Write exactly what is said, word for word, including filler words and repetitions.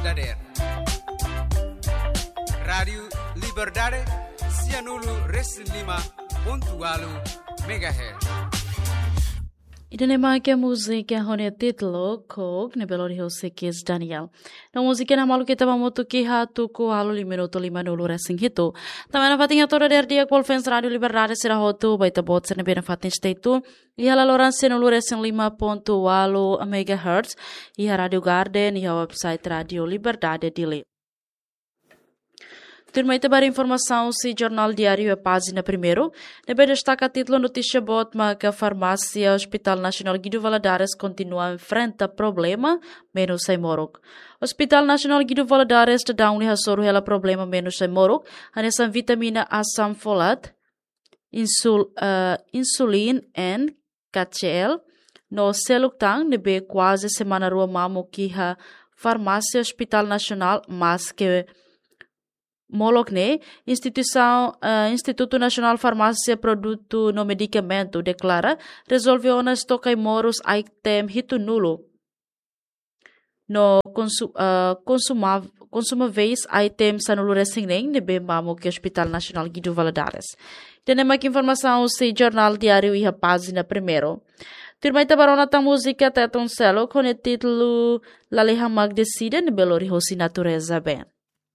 Dader. Rádiu Liberdade, sianulu resin lima pontu walu megahertz. Ida-ne'e mak múzika ho nia títulu Kok, ne'ebé lori husi Kizz Daniel. No múzika ne'e maluk ita ba hamutuk iha tuku ualu lima minutu limanulu resin hitu. Tanba nafatin hato'o dader di'ak ba fans Rádiu Liberdade sira hotu, ba ita-boot sira ne'ebé nafatin stay tune iha laloran sianulu resin lima pontu walu megahertz, iha Rádiu Garden, iha website Rádiu Liberdade Dili. Tuirmai ita ba haree informasaun husi Jornál Diáriu iha pájina primeiru, ne'ebé destaka títulu notísia boot maka farmásia Hospital Nasionál Guido Valadares kontinua enfrenta problema menus ai-moruk. Hospital Nasionál Guido Valadares daudaun ne'e hasoru hela problema menus ai-moruk, hanesan vitamina asam folat, insul, eh, insulin en K C L, no seluk tan ne'ebé kuaze semana rua mamuk iha farmásia Hospital Nasionál, maske molok ne'e, instituisaun, eh, Institutu Nasionál Farmásia Produtu no Medikamentu deklara rezolve ona estoka ai-moruk item hitunulu. No konsu-, eh, konsuma-, konsumáveis item sanulu resin neen ne'ebé mamuk iha Hospital Nasionál Guido Valadares. Ida-ne'e mak informasaun husi Jornál Diáriu iha pájina primeiru. Tuirmai ita ba rona tan múzika Teton Seluk ho nia títulu Lalehan Mak Deside, ne'ebé lori husi Natureza Band.